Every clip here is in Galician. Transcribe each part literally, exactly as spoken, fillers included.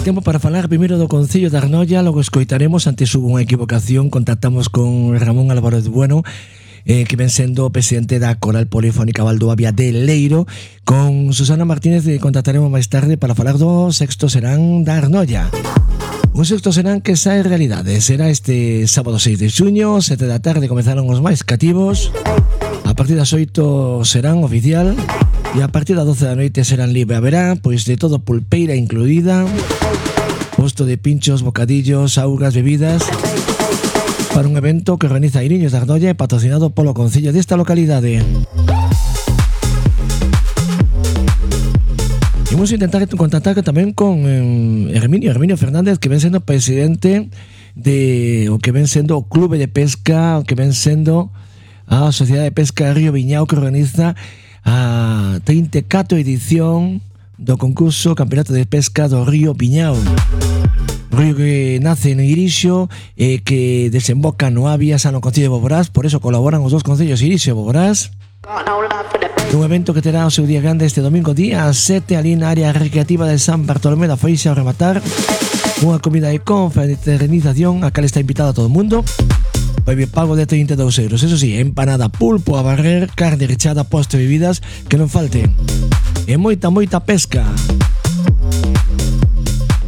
Tempo para falar primeiro do Concello de Arnoia, logo escoitaremos, antes hubo unha equivocación, contactamos con Ramón Álvarez Bueno, eh, que ven sendo presidente da Coral Polifónica Valdoavia de Leiro. Con Susana Martínez eh, contactaremos máis tarde para falar do Sexto Serán da Arnoia. Un Sexto Serán que sae realidade, será este sábado seis de xuño, sete da tarde comezaron os máis cativos, a partir das oito serán oficial, e a partir das doce da noite serán libre. Haberá, pois, de todo, pulpeira incluída, posto de pinchos, bocadillos, augas, bebidas, para un evento que organiza Iriños de Arnoia e patrocinado polo Concello desta localidade. Imos intentar contactar tamén con eh, Herminio, Herminio Fernández, que ven sendo presidente de o que ven sendo o Clube de Pesca, o que ven sendo a Sociedade de Pesca Río Viñao, que organiza a treinta e catro edición do concurso Campeonato de Pesca do Río Viñao. Río que nace en Irixo e eh, que desemboca no Avia, xa no Concello de Boborás, por eso colaboran os dos concellos Irixo e Boborás. Un evento que terá o seu día grande este domingo día sete ali na área recreativa de San Bartolomé da Feixa, ao rematar unha comida de confraternización a cal está invitado a todo o mundo. Vai pago de trinta e dous euros. Eso sí, empanada, pulpo a barrer, carne rechada, postre e bebidas que non falte. E moita, moita pesca.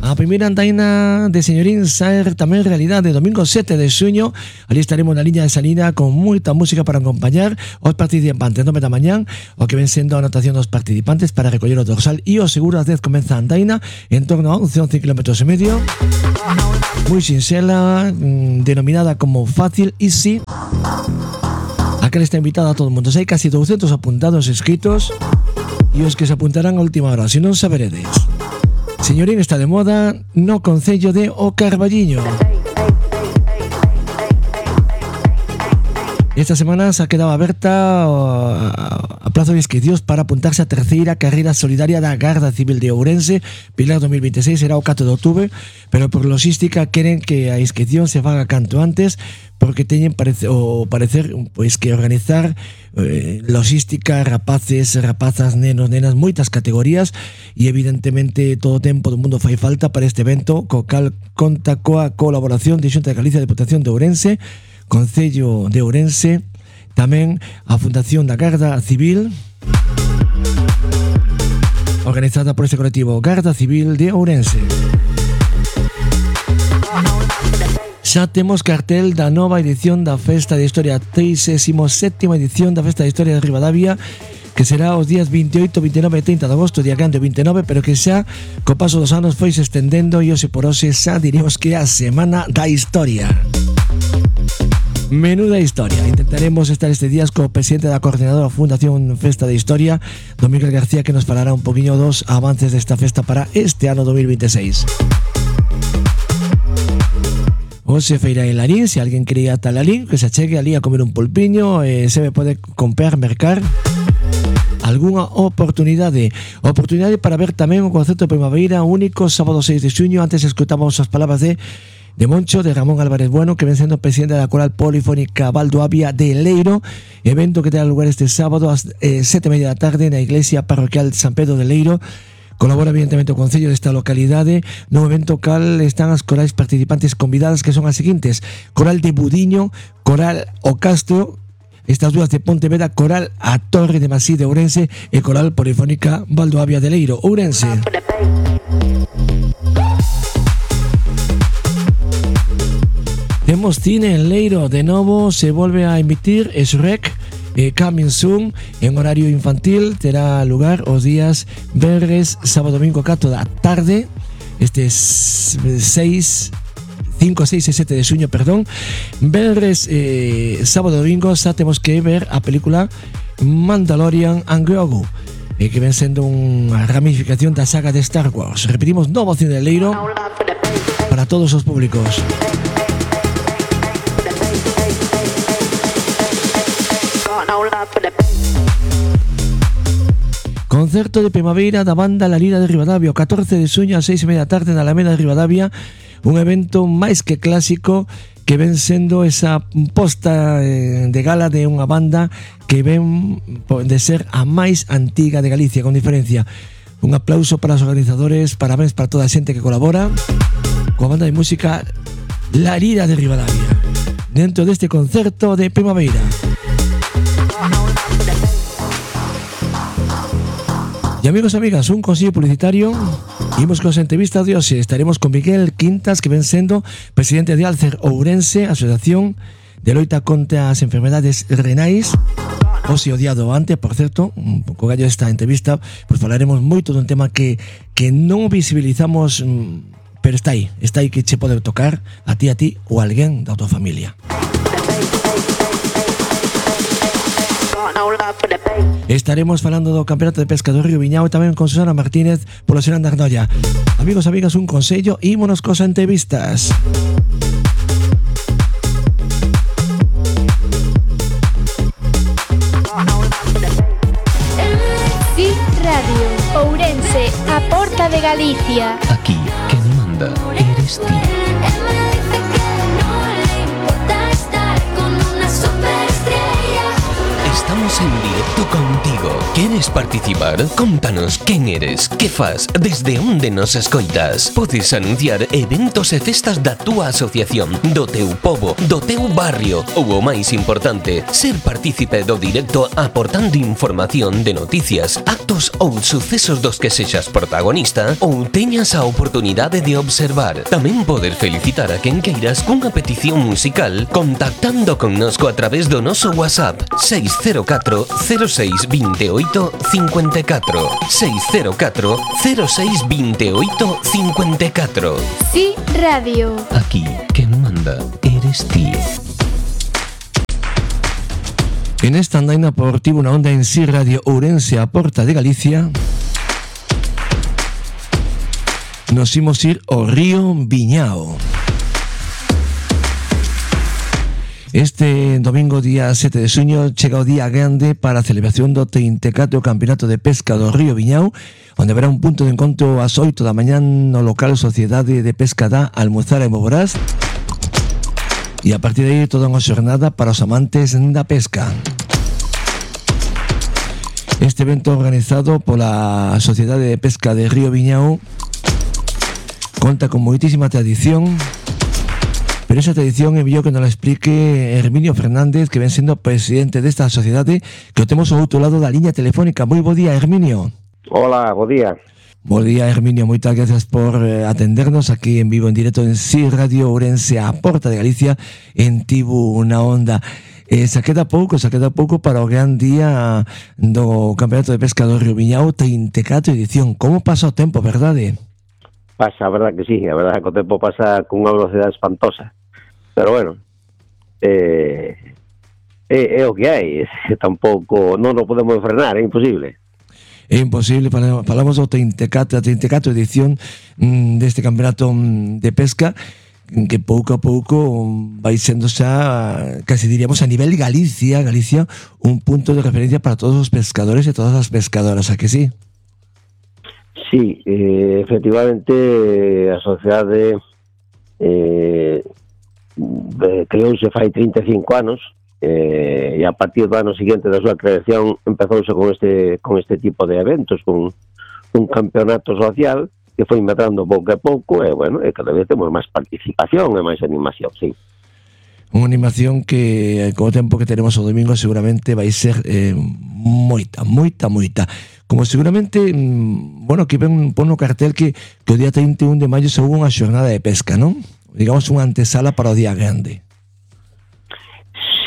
A primeira andaina de Señorín sae tamén realidade domingo sete de xuño. Ali estaremos na liña de salida con moita música para acompañar os participantes. nove da mañán, o que ven sendo a anotación dos participantes para recoller o dorsal e o seguro ás dez comeza a andaina en torno a once, once kilómetros e medio. Moi sinxela, mmm, denominada como Fácil Easy. A que está invitada a todo o mundo. Hai casi doscientos apuntados escritos e os que se apuntarán a última hora, se non saberedes. Señorín está de moda no Concello de O Carballiño. Esta semana se ha quedado aberta a plazo de inscricións para apuntarse a terceira carreira solidaria da Garda Civil de Ourense. Pilar dos mil veintiséis será o catro de outubro, pero por logística queren que a inscripción se faga canto antes, porque teñen parece, o parecer pois que organizar eh, logística, rapaces, rapazas, nenos, nenas, moitas categorías, e evidentemente todo o tempo do mundo fai falta para este evento, co cal conta coa colaboración de Xunta de Galicia, Deputación de Ourense, Concello de Ourense, tamén a Fundación da Garda Civil, organizada por este colectivo Garda Civil de Ourense. Xa temos cartel da nova edición da Festa de Historia, trigésima sétima edición da Festa de Historia de Ribadavia, que será os días veintioito, veintinueve e trinta de agosto, día grande veintinueve, pero que xa co paso dos anos foi se estendendo e hoxe por hoxe xa diríamos que é a Semana da Historia. Menuda historia. Intentaremos estar este días co presidente da coordinadora Fundación Festa de Historia, don Miguel García, que nos falará un poquinho dos avances desta festa para este ano dos mil veintiséis. Hoxe feira en Larín, se alguén quería ata Larín, que se achegue ali a comer un pulpiño, eh, se me pode comprar, mercar algunha oportunidade. Oportunidade para ver tamén o concerto de primavera único sábado seis de xuño. Antes escutábamos as palabras de de Moncho, de Ramón Álvarez Bueno, que ven sendo presidente da Coral Polifónica Valdoavia de Leiro, evento que terá lugar este sábado ás eh, sete e media da tarde na Iglesia Parroquial San Pedro de Leiro. Colabora evidentemente o Concello desta localidade no evento cal están as corais participantes convidadas, que son as seguintes: Coral de Budiño, Coral O Castro, estas dúas de Pontevedra, Coral A Torre de Masí de Ourense e Coral Polifónica Valdoavia de Leiro, Ourense. Temos cine en Leiro, de novo se volve a emitir Shrek eh, Coming Soon en horario infantil. Terá lugar os días venres, sábado, domingo, catro da tarde, este seis, cinco, seis e sete de xuño, perdón. Venres, eh, sábado, domingo xa temos que ver a película Mandalorian and Grogu, eh, que ven sendo unha ramificación da saga de Star Wars. Repetimos, novo cine de Leiro para todos os públicos. Concerto de primavera da banda La Lira de Ribadavia, o catorce de xuño a seis e media da tarde na Alameda de Ribadavia, un evento máis que clásico que ven sendo esa posta de gala de unha banda que ven de ser a máis antiga de Galicia, con diferencia. Un aplauso para os organizadores, parabéns para toda a xente que colabora coa banda de música La Lira de Ribadavia dentro deste concerto de primavera. Y amigos e amigas, un consello publicitario. Imos con as entrevistas de hoxe. Estaremos con Miguel Quintas, que ven sendo presidente de Alcer Ourense, asociación de loita contra as enfermedades renais. Hoxe o día do antes, por certo, un pouco gallo esta entrevista, pois falaremos moito dun tema que, que non visibilizamos, pero está aí, está aí que che pode tocar a ti, a ti ou a alguén da tua familia. Estaremos falando do Campeonato de Pesca do Río Viñao e tamén con Susana Martínez polo Serán da Arnoia. Amigos, amigas, un consello, ímonos cos entrevistas. Sí Radio, Ourense, a porta de Galicia. Aquí, quen manda, eres ti. Estamos en directo contigo. ¿Quieres participar? Contanos quen eres, que fas, desde onde nos escoitas. Podes anunciar eventos e festas da túa asociación, do teu pobo, do teu barrio ou o máis importante, ser partícipe do directo aportando información de noticias, actos ou sucesos dos que sexas protagonista ou teñas a oportunidade de observar. Tamén poder felicitar a quen queiras cunha petición musical contactando connosco a través do noso WhatsApp seis cero catro cero seis dos oito cinco catro seis cero catro cero seis dos oito cinco catro. Sí Radio. Aquí, quen manda, eres ti. En esta andaina por Tribuna Onda en Sí Radio Ourense, a porta de Galicia, nos imos ir ao Río Viñao. Este domingo, día sete de xuño, chega o día grande para a celebración do treinta e catro Campeonato de Pesca do Río Viñao, onde haberá un punto de encontro ás oito da mañán no local Sociedade de Pesca da Almozara e Moborás, e a partir de aí toda unha xornada para os amantes da pesca. Este evento organizado pola Sociedade de Pesca de Río Viñao conta con moitísima tradición. Pero esa tradición enviou que nos la explique Herminio Fernández, que ven sendo presidente desta sociedade, que o temos ao outro lado da liña telefónica. Moi bo día, Herminio. Hola, bo día. Bo día, Herminio. Moitas gracias por atendernos aquí en vivo, en directo, en Sí Radio Ourense, a porta de Galicia, en Tribuna Onda. Eh, se queda pouco, se queda pouco para o gran día do Campeonato de Pesca do Río Viñao, treinta e catro edición. Como pasa o tempo, verdade? Pasa, a verdad que sí, a verdad que o tempo pasa con unha velocidade espantosa. Pero bueno, eh, é, é o que hai, tampouco, non o podemos frenar, é imposible. É imposible, falamos do treinta e catro, a treinta e catro edición mm, deste campeonato de pesca, que pouco a pouco vai sendo xa, casi diríamos a nivel Galicia, Galicia, un punto de referencia para todos os pescadores e todas as pescadoras, a que sí? Sí, eh, efectivamente, a sociedade eh, creouse fai trinta e cinco anos, eh, e a partir do ano seguinte da súa creación empezouse con este con este tipo de eventos, con un campeonato social que foi medrando pouco a pouco, e bueno, e cada vez temos máis participación e máis animación, sí. Unha animación que co tempo que teremos o domingo seguramente vai ser eh, moita, moita, moita. Como seguramente, bueno, que ven pon no cartel que, que o día trinta e un de maio se houve unha xornada de pesca, non? Digamos unha antesala para o día grande.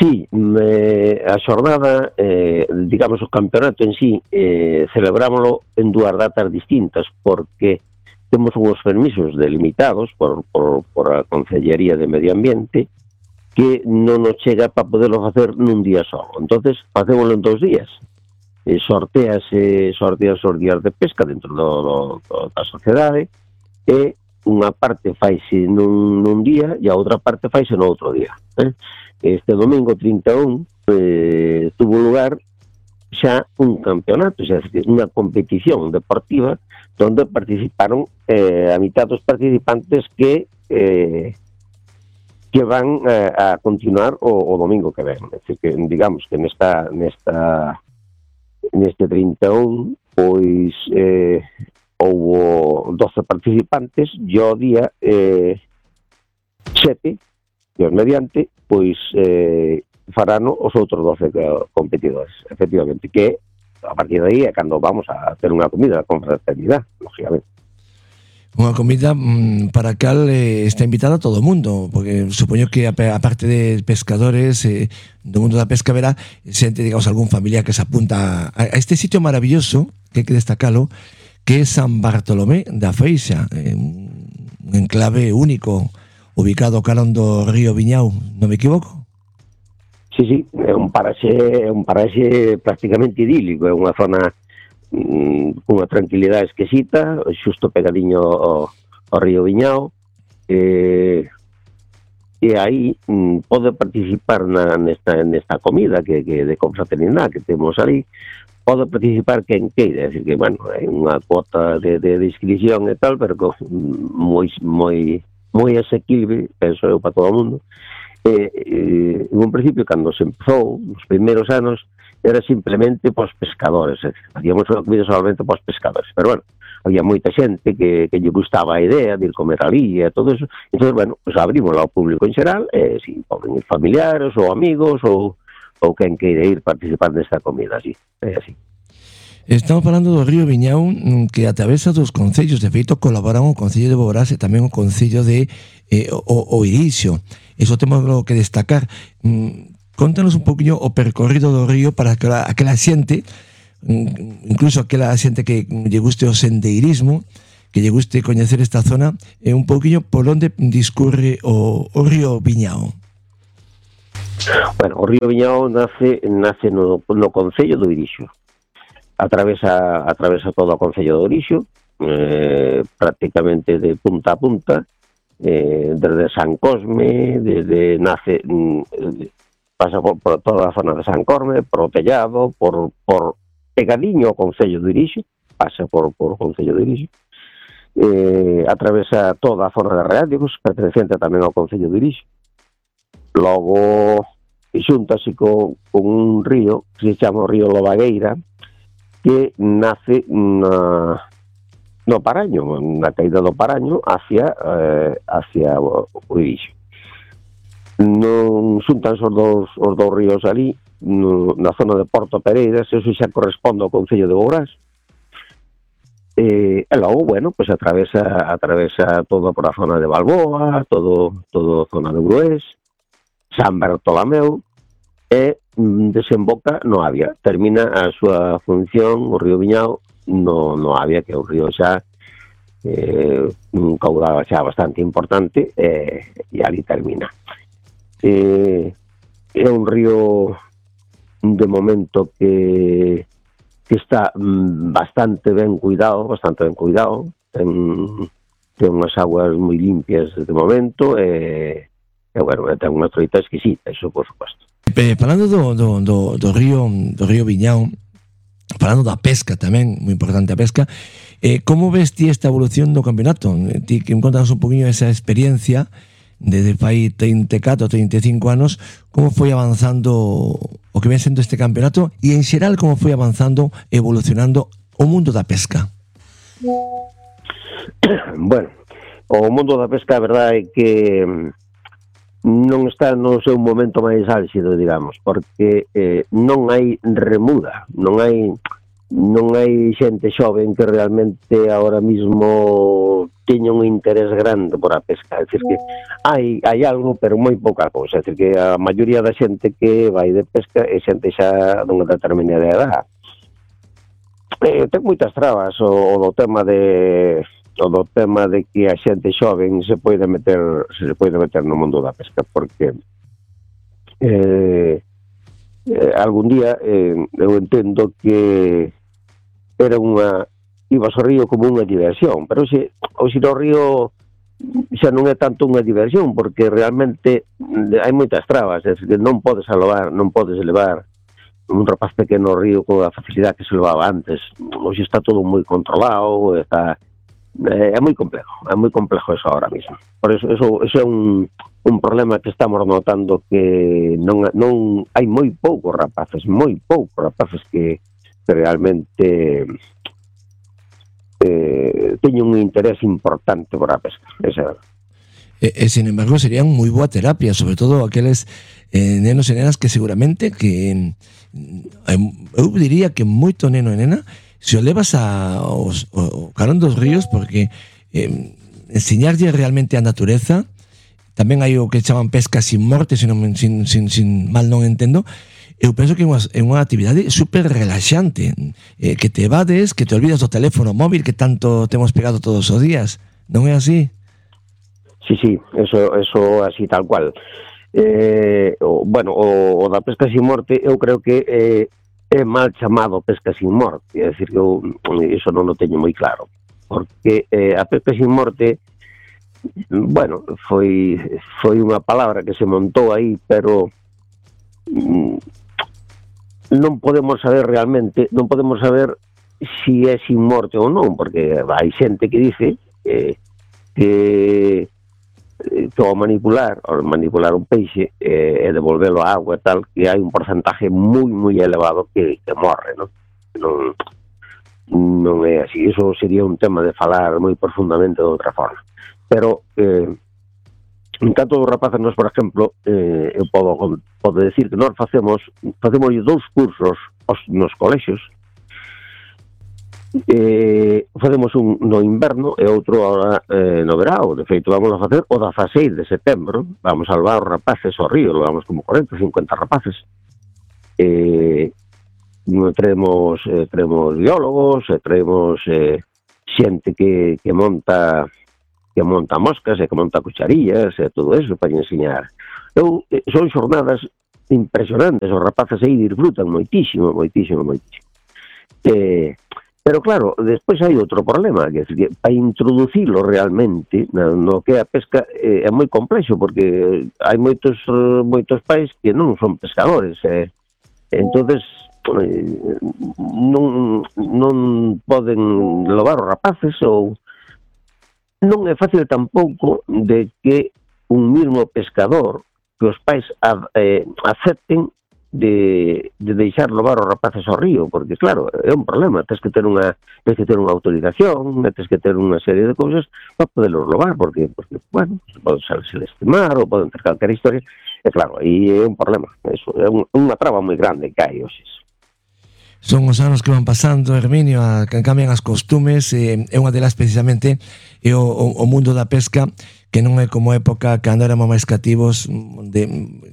Sí, eh, a xornada, eh, digamos o campeonato en sí, eh, celebrámoslo en dúas datas distintas, porque temos uns permisos delimitados por, por, por a Consellería de Medio Ambiente que non nos chega para poderlo facer nun día só. Entonces, facémoslo en dous días. Eh, sorteas, eh, sorteas os días de pesca dentro do, do, do, da sociedade, e unha parte faise nun, nun día e a outra parte faise no outro día. Eh? Este domingo trinta e un eh, tuvo lugar xa un campeonato, xa unha competición deportiva donde participaron eh, a mitad dos participantes que eh, que van eh, a continuar o, o domingo que ven. É dicir, que digamos que nesta nesta neste trinta e un pois eh, houbo doce participantes e o día eh, sete, Dios mediante, pois eh, farano os outros doce competidores, efectivamente, que a partir de aí é cando vamos a ter unha comida con fraternidade, lógicamente. Unha comida mmm, para a cal eh, está invitada todo o mundo, porque supoño que a, a parte de pescadores eh, do mundo da pesca verá xente, digamos, algún familiar que se apunta a, a este sitio maravilloso, que hai que destacalo, que é San Bartolomé da Feixa, eh, un enclave único ubicado carón do río Viñao, non me equivoco? Sí, sí, é un paraxe, é un paraxe prácticamente idílico, é unha zona cunha tranquilidade exquisita, xusto pegadinho ao, ao río Viñao, e, e aí mm, pode participar na, nesta, nesta comida que, que de confraternidade que temos ali, pode participar quen queira, é dicir que, bueno, hai unha cuota de, de, de inscripción e tal, pero que moi, moi, moi asequible, penso eu, para todo o mundo. E, e, en un principio, cando se empezou, nos primeiros anos, era simplemente pos pescadores, eh. Hacíamos unha comida solamente pos pescadores, pero bueno, había moita xente que, que lle gustaba a idea de ir comer ali e todo eso, entón, bueno, pues abrimos ao público en xeral, e si poden ir familiares ou amigos ou, ou quen queira ir participar nesta comida, así, é así. Estamos falando do río Viñao, que atravesa dos concellos, de feito colaboran o Concello de Boborás e tamén o Concello de eh, o, o Irixo. Iso temos que destacar. Mm, Contanos un poquinho o percorrido do río para que aquela xente, incluso aquela xente que lle guste o sendeirismo, que lle guste coñecer esta zona, e un poquinho por onde discurre o, o río Viñao. Bueno, o río Viñao nace nace no, no Concello do Irixo. Atravesa, atravesa todo o Concello do Irixo, eh, prácticamente de punta a punta, eh, desde San Cosme, desde nace... Eh, pasa por, por toda a zona de San Corme, por o Tellado, por, por pegadiño ao Concello do Irixo, pasa por, por o Concello do Irixo, eh, atravesa toda a zona de Reádigos, perteneciente tamén ao Concello do Irixo, logo xuntase con, con un río que se chama o río Lobagueira, que nace na, no Paraño, na caída do Paraño hacia, eh, hacia o, o Irixo. Non xuntan os dous, os dous ríos ali, no, na zona de Porto Pereiras, eso xa corresponde ao Concello de Boborás. E, e logo, bueno, pues atravesa atravesa todo por a zona de Balboa, todo todo a zona de Brués, San Bartolomeu, e desemboca no Avia. Termina a súa función, o río Viñao, no, no Avia, que é un río xa eh, un caudal xa bastante importante, e, e ali termina. Eh, é un río de momento que, que está bastante ben cuidado, bastante ben cuidado, ten, ten unhas aguas moi limpias de momento, e, e bueno, ten unha troita exquisita, iso por suposto. Eh, falando do, do, do, do río do río Viñao, falando da pesca tamén, moi importante a pesca, eh, como ves ti esta evolución do campeonato? Ti que me contas un poquinho esa experiencia desde fai treinta e catro, treinta e cinco anos, como foi avanzando o que ven sendo este campeonato e en xeral como foi avanzando, evolucionando o mundo da pesca? Bueno, o mundo da pesca, a verdade é que non está no seu momento máis álxido, digamos, porque eh, non hai remuda, non hai non hai xente xoven que realmente ahora mismo teña un interés grande por a pesca, é dicir que hai, hai algo, pero moi pouca cousa, é dicir que a maioría da xente que vai de pesca é xente xa dunha determinada edad. Eh, ten moitas trabas o, o do tema de o do tema de que a xente xoven se pode meter se pode meter no mundo da pesca, porque eh, eh, algún día eh, eu entendo que era unha ibas ao río como unha diversión, pero xe, hoxe no río xa non é tanto unha diversión, porque realmente hai moitas trabas, é que non podes elevar, non podes elevar un rapaz pequeno ao río con a facilidade que se levaba antes. Hoxe está todo moi controlado, está é moi complejo, é moi complejo eso ahora mismo. Por eso, eso, eso é un, un problema que estamos notando, que non, non hai moi poucos rapaces, moi poucos rapaces que, que realmente eh, teñen un interés importante por a pesca, esa é verdade. E, e, sin embargo, serían moi boa terapia, sobre todo aqueles eh, nenos e nenas que seguramente que eh, eu diría que moito neno e nena se o levas a, os, o carón dos ríos, porque eh, enseñarlle realmente a natureza. Tamén hai o que chaman pesca sin morte, sin, sin, sin, sin mal non entendo. Eu penso que é unha, é unha actividade super relaxante, eh, que te evades, que te olvidas do teléfono móvil que tanto temos pegado todos os días. Non é así? Sí, sí, eso, eso así tal cual. Eh, o, bueno, o, o da pesca sin morte eu creo que eh, é mal chamado pesca sin morte, é dicir que eu iso non o teño moi claro, porque eh, a pesca sin morte, bueno, foi foi unha palabra que se montou aí, pero mm, non podemos saber realmente, non podemos saber si é sin morte ou non, porque hai xente que dice eh, que que ao manipular, ao manipular un peixe eh, e devolvelo á agua e tal, que hai un porcentaje moi, moi elevado que, que morre, non? Non, non é así. Iso sería un tema de falar moi profundamente de outra forma. Pero, eh, en tanto dos rapaces, nós, por exemplo, eh, eu podo, podo decir que nós facemos, facemos dous cursos os, nos colexios. Eh, facemos un no inverno e outro agora eh, no verao. De feito, vamos a facer o dezaseis de setembro. Vamos a levar os rapaces ao río, levamos como corenta, cincuenta rapaces. Eh, traemos, eh, traemos biólogos, e traemos eh, xente que, que monta que monta moscas e que monta cucharillas e todo eso para enseñar. Eu, eh, son xornadas impresionantes, os rapaces aí disfrutan moitísimo, moitísimo, moitísimo. Eh, Pero claro, despois hai outro problema, que é que para introducilo realmente no, no que é a pesca eh, é moi complexo, porque hai moitos moitos pais que non son pescadores, eh. entonces eh, non, non poden levar os rapaces, ou non é fácil tampouco de que un mismo pescador, que os pais ad, eh, acepten de, de deixar levar os rapaces ao río, porque claro, é un problema, tens que ter unha tens que ter unha autorización, tens que ter unha serie de cousas para poderlos levar, porque, porque bueno, poden salirse estimar ou poden ter calquera historia, e claro, aí é un problema, eso, é un, unha traba moi grande que hai hoxe. Son os anos que van pasando, Herminio, a, que cambian as costumes, e é unha delas precisamente é o, o, o mundo da pesca, que non é como época cando éramos máis cativos, de,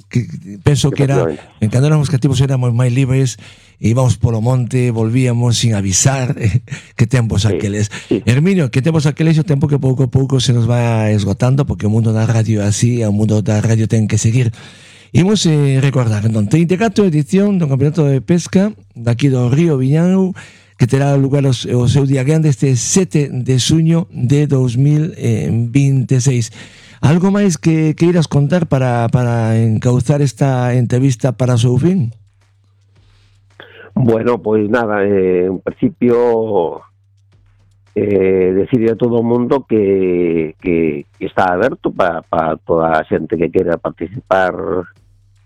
que, penso que era, cando éramos cativos éramos máis libres, íbamos polo monte, volvíamos sin avisar, eh, que tempos sí, aqueles. Sí. Herminio, que tempos aqueles, o tempo que pouco a pouco se nos va esgotando, porque o mundo da radio é así, o mundo da radio ten que seguir. Imos eh, recordar, entón, treinta e catro edición do Campeonato de Pesca daqui do Río Viñao, que terá lugar o, o seu día grande este sete de xuño de dos mil veintiséis. Algo máis que queiras contar para, para encauzar esta entrevista para o seu fin? Bueno, pois nada, eh, en principio eh, decirle a todo o mundo que, que, que está aberto para pa toda a xente que queira participar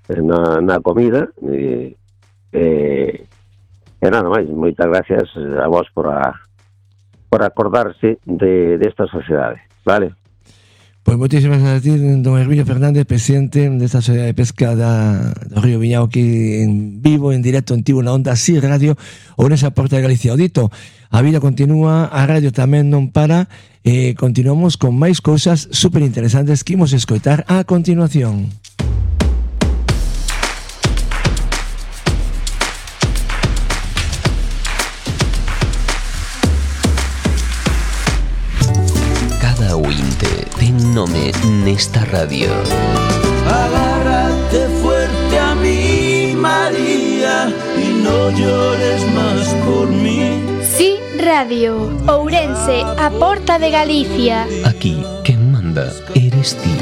na, na comida, eh, eh, e nada máis, moitas gracias a vos por a, por acordarse de desta sociedade, vale? Pois moitísimas gracias a ti, don Herminio Fernández, presidente desta sociedade de pesca da, do Río Viñao, aquí en vivo, en directo, en Tivo, na Onda Así Radio, ou nesa Porta de Galicia. O dito, a vida continúa, a radio tamén non para, e continuamos con máis cousas super interesantes que imos escoitar a continuación. Ten nome nesta radio. Agárrate fuerte a mí, María, y no llores más por mí. Sí, Radio, Ourense, a Porta de Galicia. Aquí, quen manda eres ti.